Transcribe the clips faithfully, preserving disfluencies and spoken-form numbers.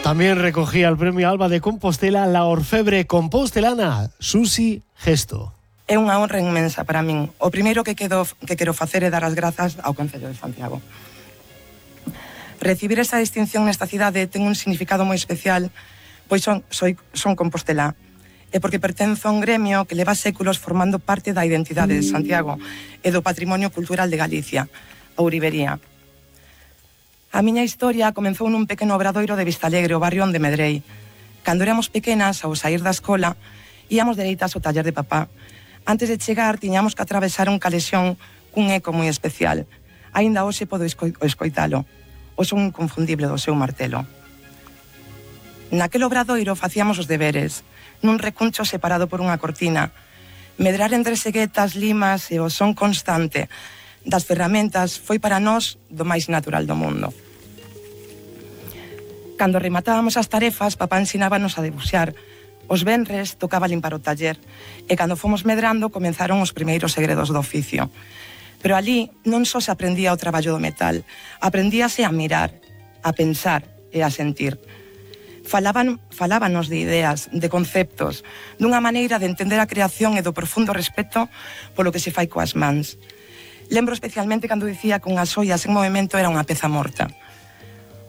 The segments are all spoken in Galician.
También recogía el premio Alba de Compostela la orfebre compostelana Susi Gesto. É unha honra inmensa para min. O primeiro que, quedo, que quero facer é dar as grazas ao Concello de Santiago. Recibir esa distinción nesta cidade ten un significado moi especial, pois son, soy, son compostelá, e porque pertenzo a un gremio que leva séculos formando parte da identidade de Santiago e do patrimonio cultural de Galicia, a ourivería. A miña historia comenzou nun pequeno obradoiro de Vistalegre, o barrio onde medrei. Cando éramos pequenas, ao sair da escola, íamos dereitas ao taller de papá. Antes de chegar, tiñamos que atravesar un calexón cun eco moi especial. Aínda hoxe podo esco escoitalo. O son inconfundible do seu martelo. Naquel obradoiro facíamos os deberes, nun recuncho separado por unha cortina. Medrar entre seguetas, limas e o son constante das ferramentas foi para nós do máis natural do mundo. Cando rematábamos as tarefas, papá ensinábanos a debuxar. Os venres tocaba limpar o taller e cando fomos medrando comenzaron os primeiros segredos do oficio. Pero ali non só se aprendía o traballo do metal, aprendíase a mirar, a pensar e a sentir. Falaban, falábanos de ideas, de conceptos, dunha maneira de entender a creación e do profundo respeto polo que se fai coas mans. Lembro especialmente cando dicía que unhas ollas en movimento era unha peza morta.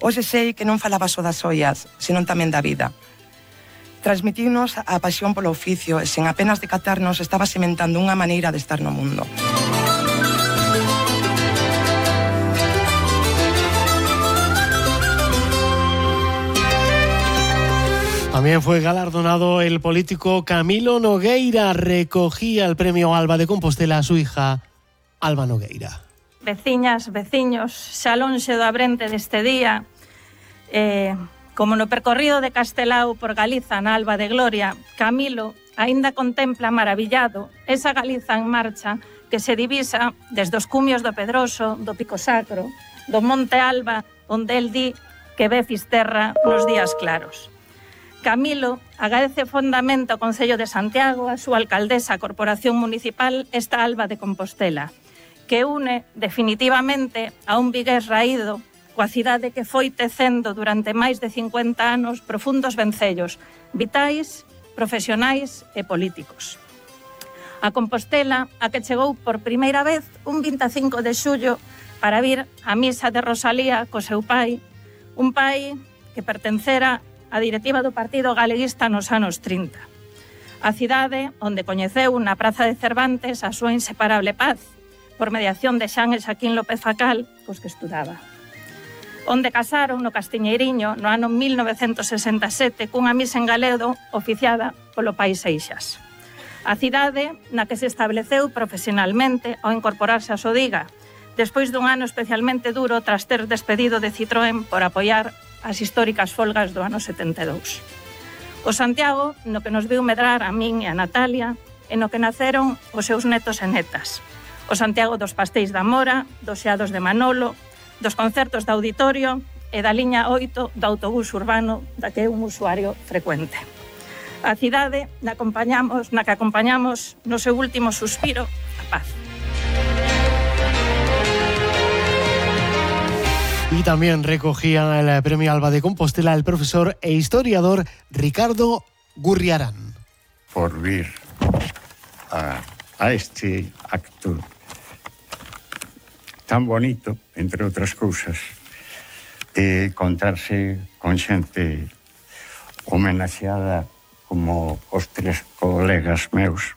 Hoxe sei que non falaba só das ollas, senón tamén da vida. Transmitirnos a pasión polo oficio e sen apenas decatarnos estaba sementando unha maneira de estar no mundo. También fue galardonado el político Camilo Nogueira. Recogía el premio Alba de Compostela a su hija Alba Nogueira. Veciñas, veciños, xa lonxe do abrente deste día, eh, como no percorrido de Castelao por Galiza na Alba de Gloria, Camilo aínda contempla maravillado esa Galiza en marcha que se divisa desde os cumios do Pedroso, do Pico Sacro, do Monte Alba, onde el di que ve Fisterra nos días claros. Camilo agradece fondamente ao Concello de Santiago, a súa alcaldesa, a Corporación Municipal, esta Alba de Compostela, que une definitivamente a un vigués raído coa cidade que foi tecendo durante máis de cincuenta anos profundos vencellos vitais, profesionais e políticos. A Compostela, a que chegou por primeira vez un vinte e cinco de xullo para vir á misa de Rosalía co seu pai, un pai que pertencera á directiva do Partido Galeguista nos anos trinta. A cidade onde coñeceu na Praza de Cervantes a súa inseparable paz, por mediación de Xan e Xaquín López Facal, cos que estudaba. Onde casaron no Castiñeiriño no ano mil novecentos sesenta e sete cunha misa en galego oficiada polo pai Seixas. A cidade na que se estableceu profesionalmente ao incorporarse a Sodiga, despois dun ano especialmente duro tras ter despedido de Citroën por apoiar as históricas folgas do ano setenta e dous. O Santiago, no que nos viu medrar a min e a Natalia, e no que naceron os seus netos e netas. O Santiago dos pastéis da Mora, dos xeados de Manolo, dos concertos de auditorio e da liña oito do autobús urbano da que é un usuario frecuente. A cidade na, acompañamos, na que acompañamos no seu último suspiro a paz. Y también recogía el premio Alba de Compostela el profesor e historiador Ricardo Gurriarán. Por vir a, a este acto tan bonito, entre outras cousas, de encontrarse con xente homenaxeada como os tres colegas meus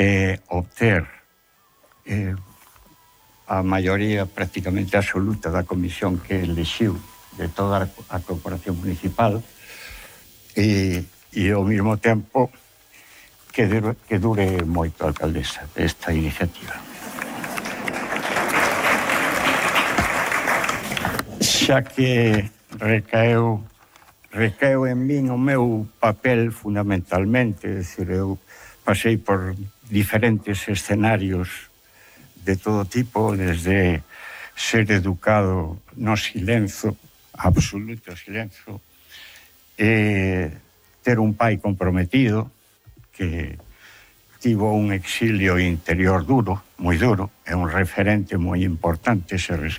e obter eh, a maioría prácticamente absoluta da comisión que elixiu de toda a corporación municipal e, e ao mesmo tempo que dure, que dure moito a alcaldesa esta iniciativa. Xa que recaeu recaeu en min o meu papel fundamentalmente, é dicir, eu pasei por diferentes escenarios de todo tipo, desde ser educado no silencio, absoluto silencio, e ter un pai comprometido que tivo un exilio interior duro, moi duro, é un referente moi importante ese rescate.